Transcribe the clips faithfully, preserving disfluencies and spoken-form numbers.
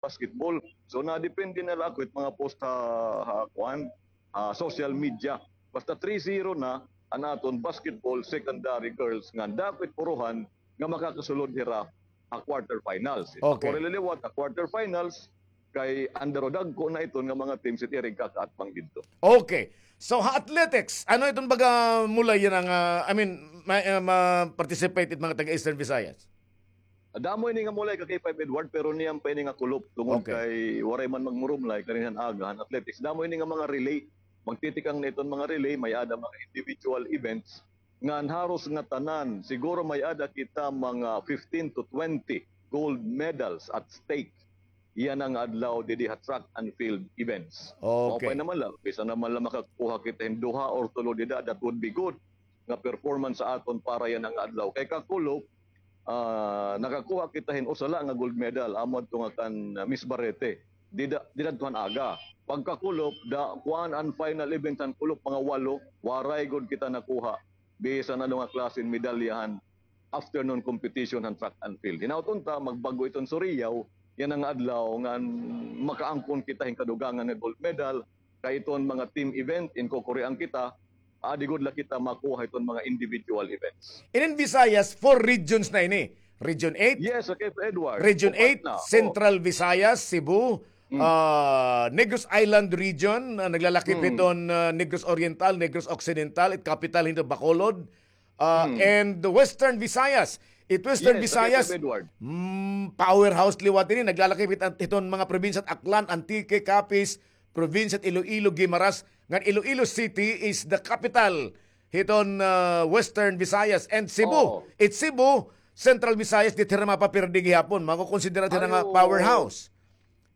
basketball. So, nadepende na la ako it mga post ha, ha, kuan, ha social media. Basta three zero na an aton basketball secondary girls ngan dako it purohan nga makakasulod hira ha quarterfinals. It Okay. ako ra liliwat ha quarterfinals, kay under dagko na iton nga mga teams it ira igkakaatbang didto. Okay. So, ha athletics, ano iton baga mulay yana nga, I mean, ma-, ah, ma-participate it mga taga Eastern Visayas? Damo ini nga mulay ka K five Edward, pero niyan pa ini nga kulop tungod Okay. kay waray man magmurumlay kaninhan aga han athletics. Damo ini nga mga relay. Magtitikang na iton mga relay, may-ada mga individual events. Ngan haros nga tanan, siguro may-ada kita mga fifteen to twenty gold medals at stake yana nga adlaw didi ha track and field events. Okay. Maupay naman la, bisan naman la makakuha kita hin duha or tulo dida, that would be good nga performance sa aton para yana nga adlaw. Kay kakulop, ah, nakakuha kita hin usa la nga gold medal, amo adto nga kan, ah, Miss Barrete. Dida, dida adto han aga. Pagkakulop, da, kuan an final event han kulop, mga walo, waray gud kita nakuha bisan ano nga klase hin medalya han afternoon competition han track and field. Hinaut unta, magbag-o iton Surigao yana nga adlaw ngan makaangkon kita hin kadugangan nga gold medal, kay iton mga team event, inkukurian kita, adi gud la kita makuha iton mga individual events. Inin Visayas, four regions na ini. Region eight, Yes, okay, Edward. Region Upat eight, na. Oh. Central Visayas, Cebu, Hmm. ah, Negros Island Region, ah, naglalakip Hmm. hiton, ah, Negros Oriental, Negros Occidental, it capital hito Bacolod, ah, Hmm. and the Western Visayas. It Western Yes, okay, Visayas, Edward. mm, powerhouse liwat ini, naglalakip hit-, hiton mga probinsya it Aklan, Antique, Capiz, probinsya it Iloilo, Guimaras, ngan Iloilo City is the capital hiton, ah, Western Visayas and Cebu. Oo. It Cebu, Central Visayas, diri hira mapapirdi gihapon. Makukonsidera hira Ay, nga oo. powerhouse.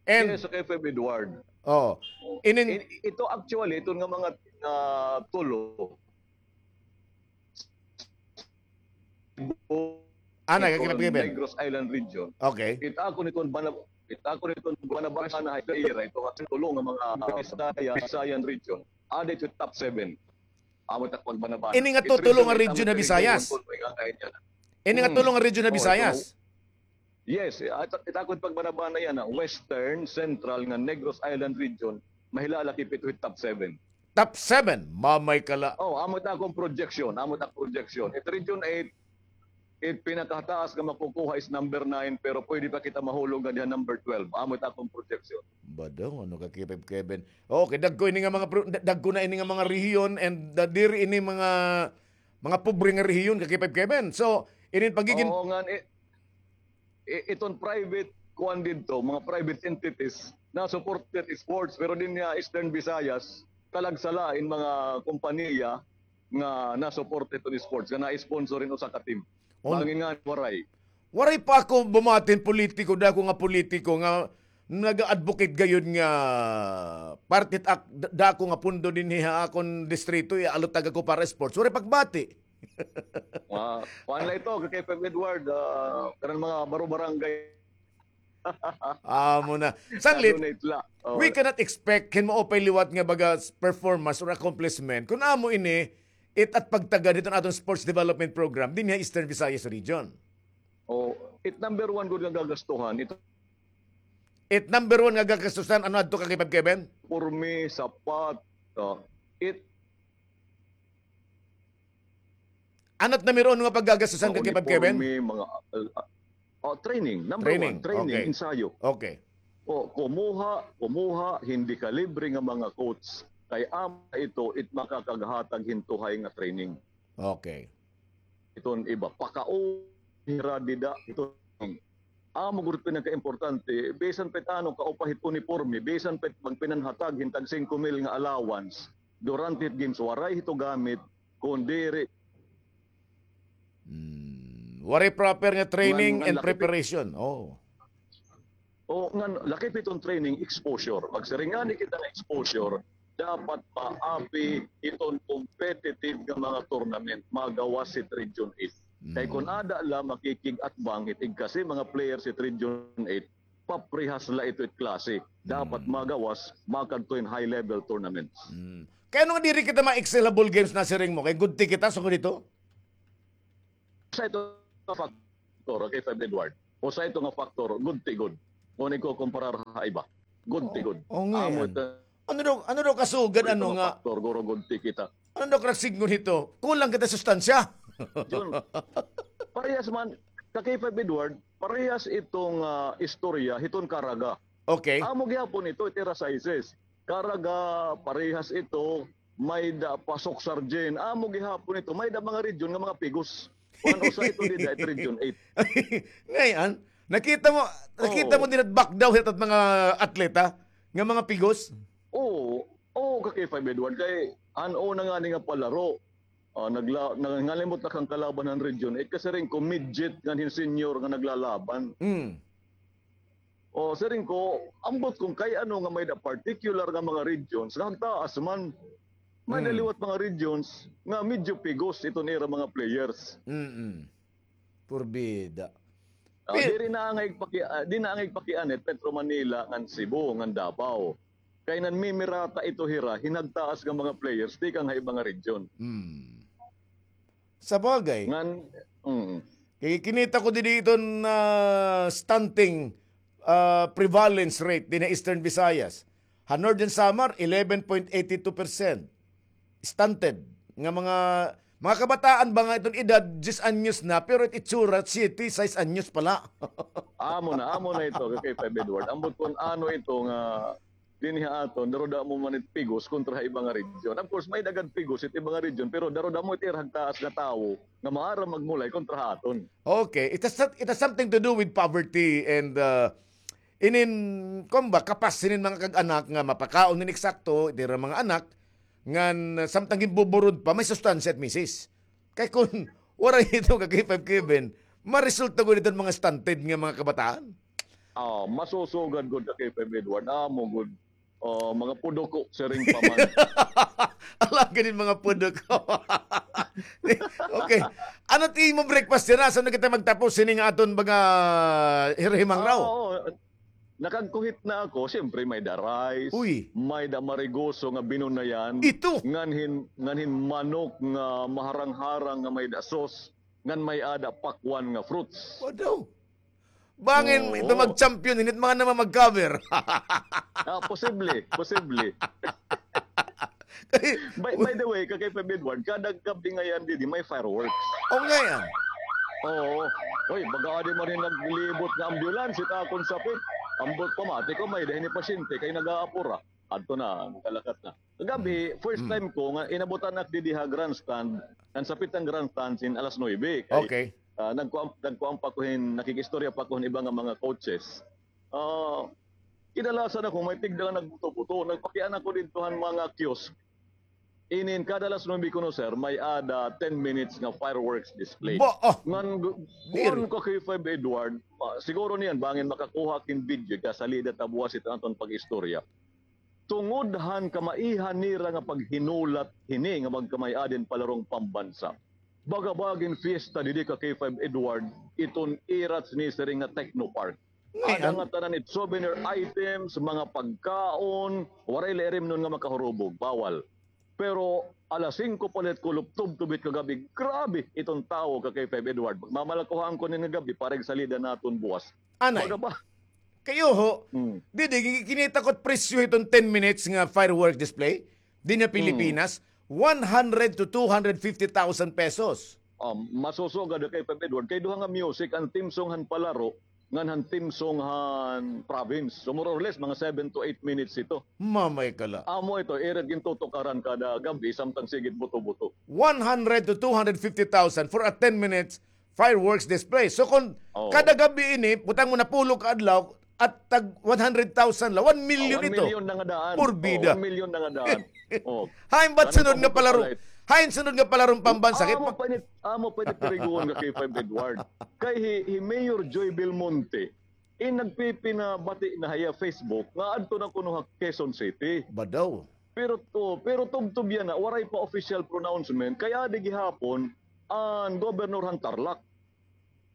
And Yes, okay, Feb Edward. Oh. Inin I-, ito actually, ito nga mga, ah, tulo. Ana, Ito, kakipag-, Negros Island Region. Okay. It ako niton bana-, it ako niton banabana ha ira, ito nga tulo nga mga Bisaya-, Visayan Region. Added to top seven. Amo it ako banabana. Ini nga It tulo nga region ha Visayas. Ini nga Hmm. tulo nga region ha Oo, ito Visayas. Yes, eh, at, it akon pagbanabana yana, Western, Central, ngan Negros Island Region, mahilala kay pito hit top seven. Top seven, mamay kala. Oh, amo it akon projection, amo it akon projection. It Region eight, it pinakataas nga makukuha is number nine, pero pwede pa kita mahulog nga diha number twelve. Amo it akon projection. Badong, ano ka, Kevin? Okay, dagko ini nga mga pro-, da-, dagko na ini nga mga rehiyon and, uh, diri ini mga, mga pobre nga rehiyon, ka Kevin. So, inin pagigin Oo, ngan, eh, i-, iton private kuan didto, mga private entities na supported sports, pero dinhi ha Eastern Visayas, talagsa la in mga kompanya nga na-support iton sports, nga na-sponsor in usa ka team. On- Bangin nga waray. Waray pa ako bumati hin politiko, dako nga politiko nga nag-advocate gayod nga parte ak-, da-, dako nga pundo dinhi ha akon distrito, ialutag ako para sports. Waray pagbati. Ah, kuan la ito, kay Feb Edward, ah, kanang mga baro-barangay. Amo na. Sanglit, Na-donate la. Oh. we cannot expect hin maupay liwat nga baga s-, performance or accomplishment. Kun amo ini, it at pagtagad hiton aton sports development program, dinhi ha Eastern Visayas Region. Oh, it number one gud nga gagastuhan, it It number one nga gagastusan, ano adto ka kay Feb Kevin? Porme, sapat, oh, it Ano it number one nga paggagastusan ka kay Feb Kevin? Uniforme, mga, uh, uh, oh, training, number Training, one, training, okay. Ensayo. Okay. O, kumuha, kumuha, hindi ka libre nga mga coach. Kay ama ito, it makakaghatag hin tuhay nga training. Okay. Iton iba, pakaon hira dida, ito. Amo gud pinakaimportante, bisan pa it ano, kaupay hit uniporme, bisan pa it magpinanhatag hin tag singko mil nga allowance, durante hit games, waray hito gamit, kun diri. Hmm. Waray proper nga training Ngan, ngan and laki pi- preparation. Oh. O, ngan, laki pa iton training, exposure. Magsiring ngani kita nga exposure, dapat maapi iton competitive nga mga tournament, magawas hit Region eight. Kay kun Mm. ada la makikig-atbang hit igkasi mga players hit Region eight, paprehas la ito it klase. Dapat Mm. magawas, makadto hin high level tournaments. Mm. Kay ano nga diri kita ma-excel ha ball games na siring mo? Kay gudti kita, sugod ito? Sa ito nga factor, okay, Feb Edward. O sa ito nga factor, gudti gud. Kon ikukumparar ha iba. Good ti good. Oo nga. Amo yan. Ito, ano daw, ano daw kasugad, ano nga? Factor, guro, good ti kita. Ano daw karagsignon hito? Kulang kita sustansya. Jun, parehas man, ka K five Edward, parehas iton, ah, istorya hiton Caraga. Okay. Amo gihapon ito, it ira sizes. Caraga, parehas ito, may-ada pa Soc Sargent. Amo gihapon ito, may-ada mga region nga mga pigos. Kuan, usa ito dida, it Region eight. Ngay-an, nakita mo, nakita mo dida, back daw hit mga atleta nga mga pigos? Oo, oo, ka K five Edward, kay an una ngani nga palaro, ah, nagla-, na-, nangalimot na kan kalaban han Region eight, kay siring ko midget ngan hin senior nga naglalaban. Mm. O, siring ko, ambot kon kay ano nga may-ada particular nga mga regions, nga hagtaas man. May-ada liwat mga regions nga medyo pigos iton ira mga players. Mm-mm. Purbida. Ah, diri na angay paki-, ah, di na angay pakianit Metro Manila ngan Cebu ngan Davao. Kay nanmimirata ito hira hin hagtaas nga mga players tikang ha iba nga region. Mm. Sabagay. Ngan, mm. Kay kinita ko didi iton, ah, stunting, ah, prevalence rate dinhi ha Eastern Visayas. Ha Northern Samar, eleven point eighty two percent. Stunted. Nga mga, mga kabataan ba nga iton edad, diyes anyos na, pero it itsura, siyete, sais anyos pa la. Amo na, amo na ito, ka K five Edward. Ambot kon ano ito nga dinhi ha aton, daruda mo man it pigos kontra ha iba nga region. Of course, may-ada gad pigos it iba nga region, pero daruda mo it ira hagtaas nga tawo nga maaram magmulay kontra ha aton. Okay, it has, it has something to do with poverty and, uh, inin, kuan ba, kapas hinin mga kag-anak nga mapakaon hin eksakto it ira mga anak, ngan, uh, samtang ginbuburod pa, may sustansya it misis. Kay kon waray ito, ka K five Kevin, maresulta gud iton mga stunted nga mga kabataan. Ah, masusugad gud, ka K five Edward. Amo gud. Oh, mga puduko, siring pa man. Ala, ganin mga puduko. Okay. Ano ti imo breakfast dyan? Asa na kita magtapos? Sini nga aton mga hirhimang raw. Ah, oo. Nakagkuhit na ako, siyempre may-ada rice, uy, may-ada marigoso nga binunayan, ito, nganhin, nganhin manok nga maharang-harang nga may-ada sauce, ngan may-ada pakwan nga fruits. Wadaw. Bangin, oo, ito mag-champion, init mga naman mag-cover. Ah, posible, posible. By, by the way, ka K five Edward, kada gab-i ngay-an didi, may fireworks. O, ngay-an. Oo. Oy, baga adi man hin naglibot nga ambulance, it akon sapit. Ambot pamati ko, may-ada hini pasyente, kay nag-aapura. Adto na, kalakat na. Kagab-i, first time ko nga inabutan ak didi ha grandstand, ngan sapit an grandstand sin alas nuebe. Kay, okay, ah, nagkuan, nagkuan pa ko hin, nakikistorya pa ko hin iba nga mga coaches. Ah, kinalasan ako, may tigda nga nagbuto-buto. Nagpakiana ko didto han mga kiosk. Inin, kada alas nuebe kuno, sir, may-ada ten minutes nga fireworks display. Ba, ah, ngan, diri, kuan, ka K five Edward, ah, siguro niyan, bangin makakuha ak hin video, kay salida ta buwas iton aton pag-istorya. Tungod han kamaihan nira nga paghinulat hini nga magkamay-ada hin palarong pambansa. Baga-baga hin fiesta didi, ka K five Edward, iton ira sinisiring nga Techno Park. Ada nga tanan it souvenir items, mga pagkaon, waray la irimnon nga makahurubog, bawal. Pero alas singko pa la it kulop tubtob it kagab-i, grabe iton tawo, ka K five Edward. Mamalakuhaan ko ini nga gab-i para igsalida naton buwas. Anay. Baga ba? Kay uho, didi, gi-, kinita ko it presyo hiton ten minutes nga firework display dinhi ha Pilipinas, one hundred to two hundred fifty thousand pesos. Um, masusugad, ka K five Edward, kay duha nga music an theme song han palaro ngan han theme song han province. So, more or less, mga seven to eight minutes ito. Mamay ka la. Amo ito, ira it gintutukaran kada gab-i, samtang sige it buto-buto. One hundred to two hundred fifty thousand for a ten minutes fireworks display. So, kon kada gab-i ini, butang mo napulo ka adlaw, at tag one hundred thousand la, one million ito. Ah, one million na nga daan. Purbida. Oh, one million na nga daan. Oh. Hain ba it sunod nga palaro? Hain sunod nga palarong pambansa? Amo pa ini, amo pa ini tirigoon, ka K five Edward. Kay hi, hi Mayor Joy Belmonte, in nagpipinabati na ha iya Facebook nga adto na kuno ha Quezon City. Badaw. Pero to, pero tubtob yana, waray pa official pronouncement, kay adi gihapon an gobernador han Tarlac.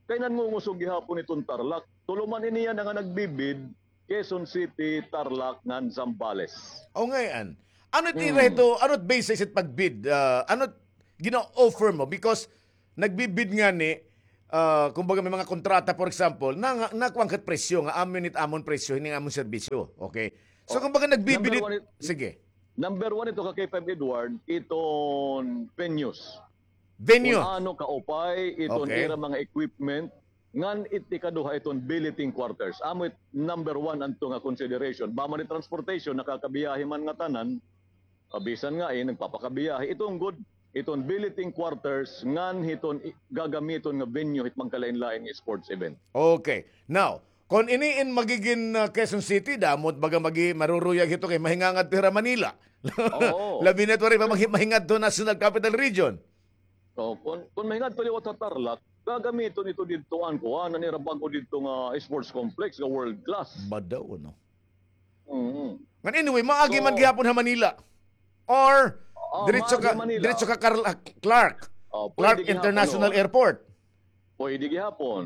Kay nangungusog gihapon iton Tarlac. Tulo man ini yana nga nagbibid, Quezon City, Tarlac, ngan Zambales. O, ngay-an. Ano it ira ito, ano it basis it pagbid? Ah, ano it gina-offer mo? Because nagbibid ngani, ah, kumbaga may mga kontrata, for example, na, na, nakuan ka presyo nga amo ini it amon presyo, hini amon serbisyo. Okay? So, Oh, kumbaga nagbibinit, number one it-, sige. Number one ito ka K five Edward, iton venues. Venue. Kung ano kaupay, iton Okay. ira mga equipment, ngan it ikaduha iton billeting quarters. Amo it number one anto nga consideration. Ba man it transportation, nakakabiyahe man ngatanan, ah, bisan nga, eh, nagpapakabiyahe. Iton gud, iton billeting quarters, ngan hiton i-, gagamiton nga venue hit magkalain-lain nga sports event. Okay. Now, kon ini in magigin, ah, Quezon City, damo it baga magi-, maruruyag hito kay mahingangad hira Manila. Oo. Labi na it waray pa magi-, mahingadto National Capital Region. Oh, kon, kon mahingadto liwat ha Tarlac, gagamiton ito didto an kuan, an ira bag-o didto nga sports complex nga world class. Badaw, no? Mhm. Ngan anyway, maagi man So, gihapon ha Manila. Or, oh, diretso maagi ka, Manila. diretso ka Carl-, ah, Clark. Oh, Clark pwede gihapon, International oh. Airport. Pwede gihapon.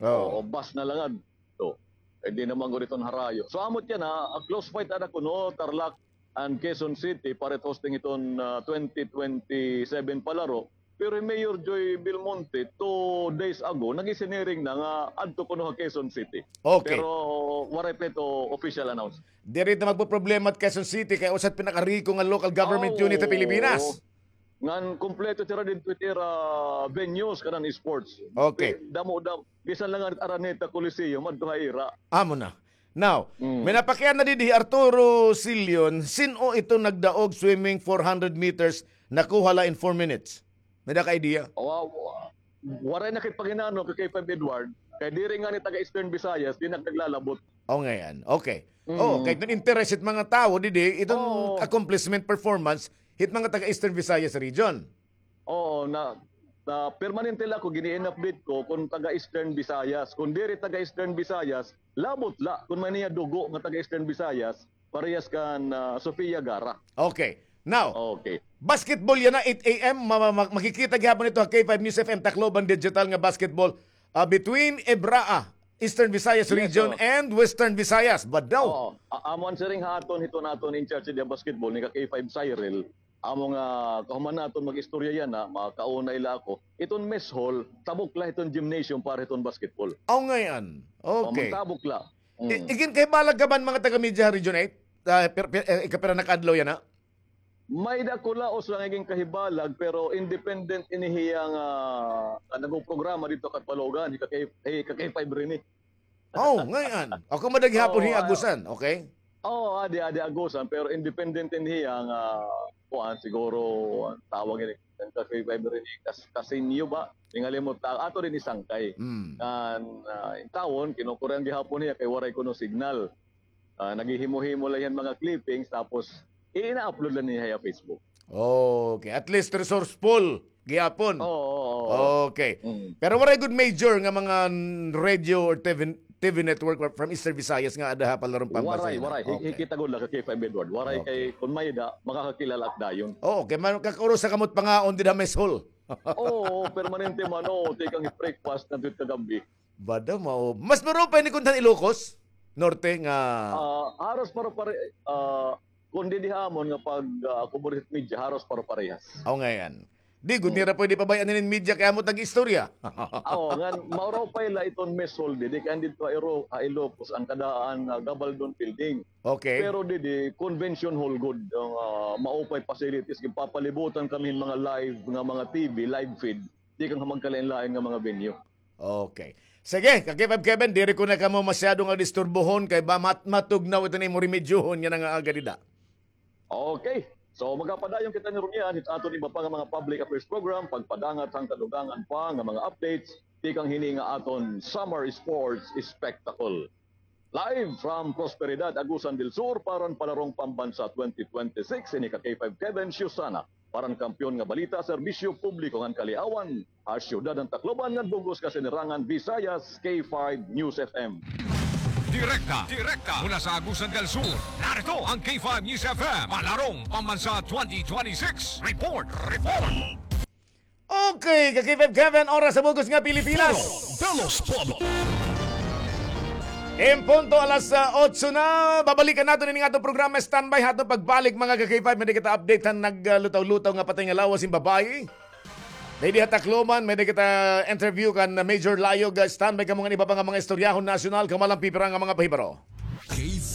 Oh. Oo, bus na lang adto. Pwede naman gud iton harayo. So, amo it yana, a close fight ada kuno, Tarlac and Quezon City, para it hosting iton, ah, twenty twenty-seven palaro. Pero hi Mayor Joy Belmonte, two days ago, nag-isiniring na nga adto kuno ha Quezon City. Okay. Pero waray pa ito official announce. Diri ta magpoproblema it Quezon City, kay usa it pinakariko nga local government Oh, unit sa Pilipinas. Ngan kompleto it ira didto it ira venues kanan sports. Okay. Damo, damo. Bisan la ngani it Araneta Coliseum, adto ha ira. Amo na. Now, Mm. may napakiana didi hi Arturo Silion, sin-o ito nagdaog swimming four hundred meters, nakuha la in four minutes? May-ada ka idea? Wa-, wa-, waray na kay panginanon kay K five Edward, kay diri ngani taga Eastern Visayas, di na naglalabot. O, ngayan. Okay. Mm. Oh, kay iton interest hit mga tawo didi, iton Oo. accomplishment performance hit mga taga Eastern Visayas region. Oo, na, na permanente la ako, gini-in-update ko kon taga Eastern Visayas. Kon diri taga Eastern Visayas, labot la. Kon may niya dugo nga taga Eastern Visayas, parehas kan, ah, Sofia Gara. Okay. Now, Okay. basketball yana, eight a.m., ma-, ma-, ma-, makikita gihapon ito ha K five News F M Tacloban Digital nga basketball, ah, between EVRAA, Eastern Visayas Yes, Region, sir. and Western Visayas. Badaw. Oo. A-, amo an siring ha aton, hiton aton in charge didi ha basketball, ni ka K five Cyril. Amo nga, kahuman naton mag-istorya yana, makauna ila ako. Iton mess hall, tabok la hiton gymnasium para hiton basketball. Aw, ngayan. Okay. Amo, tabok la. I-, Mm. igin kahibalag ka man mga taga-media ha Region eight? Ah, per-, per-, eh, ikapira na ka adlaw yana? May-ada ko laos nga igin kahibalag, pero independent ini hiya nga, ah, nagprograma didto ha Catbalogan, hi ka K-, hi ka K five Rene. Oh, ngayan. Ako madagihapon Oo, hi ah, Agusan, okay? Oo, adi, adi Agusan, pero independent ini hiya nga, kuan, siguro, an tawag ini, an ka K five Rene, kas-, kasinyo ba? Hingalimot ta, ato didi Sangkay. Mm. Ngan, ah, intawon, kinukurian gihapon hiya kay waray kuno signal. Ah, naghihimo-himo la hiya hin mga clippings, tapos ina-upload la niya ha Facebook. Okay, at least resourceful gihapon. Oo, oo, oo. Okay. Mm. Pero waray gud major nga mga radio or T V, T V network from Eastern Visayas nga ada ha palarong Pambansa yana? Waray, waray. Hi-, Okay. hikita gud la ka K five Edward. Waray Okay. kay kun may-ada, makakakilala ak dayon. Oo, kay man-, kakaurusa kamo it pangaon dida ha mess hall. Oo, permanente man, oo, tikang breakfast, ngadto it kagab-i. Bada, mao. Mas maupay ini kon han Ilocos Norte nga Ah, haros pare-pare-, ah, kon didi ha amon nga pag, ah, cover hit media, haros pare-parehas. Aw, ngayan. Di gud Hmm. nira pwede pabay-an hinin media kay amo it nag-istorya. Aw, ngan maupay la iton mess hall didi kay an didto ha Iro-, ha Ilocos, an kadaan nga Gabaldon Building. Okay. Pero didi, convention hall gud, ang, ah, maupay facilities, ginpapalibutan kami hin mga live nga mga T V, live feed, tikang ha magkalain-lain nga mga venue. Okay. Sige, ka K five Kevin, diri ko na kamo masyado nga disturbohon kay ba mat-, matugnaw ito na imo remedyohon nga nangaaga dida. Okay. So, magapadayon kita ni Rumian, hit aton iba pa nga mga public affairs program, pagpadangat han kadugangan pa nga mga updates, tikang hini nga aton Summer Sports Spectacle. Live from Prosperidad, Agusan del Sur, para han Palarong Pambansa twenty twenty-six, ini ka K five Kevin Siusana. Para han kampiyon nga balita, serbisyo publiko ngan kaliawan, ha siyudad han Tacloban ngan bug-os kasinirangan, Visayas, K five News F M. Direkta, direkta mula sa Agusan del Sur, narito ang K five News F M, Palarong Pambansa twenty twenty-six Report, Report. Okay, ka K five Kevin, oras sa bug-os nga Pilipinas. Dalo, dalo, dalo. En punto alas, ah, otso na, babalikan naton ini nga aton programa. Standby ha aton pagbalik, mga ka K five, may-ada kita update han naglutaw-lutaw nga patay nga lawas hin babaye. May-ada ha Tacloban, may-ada kita interview kan Major Layog. Standby kamo ngan iba pa nga mga istoryahon nasyonal, kamalan pipira nga mga pahibaro.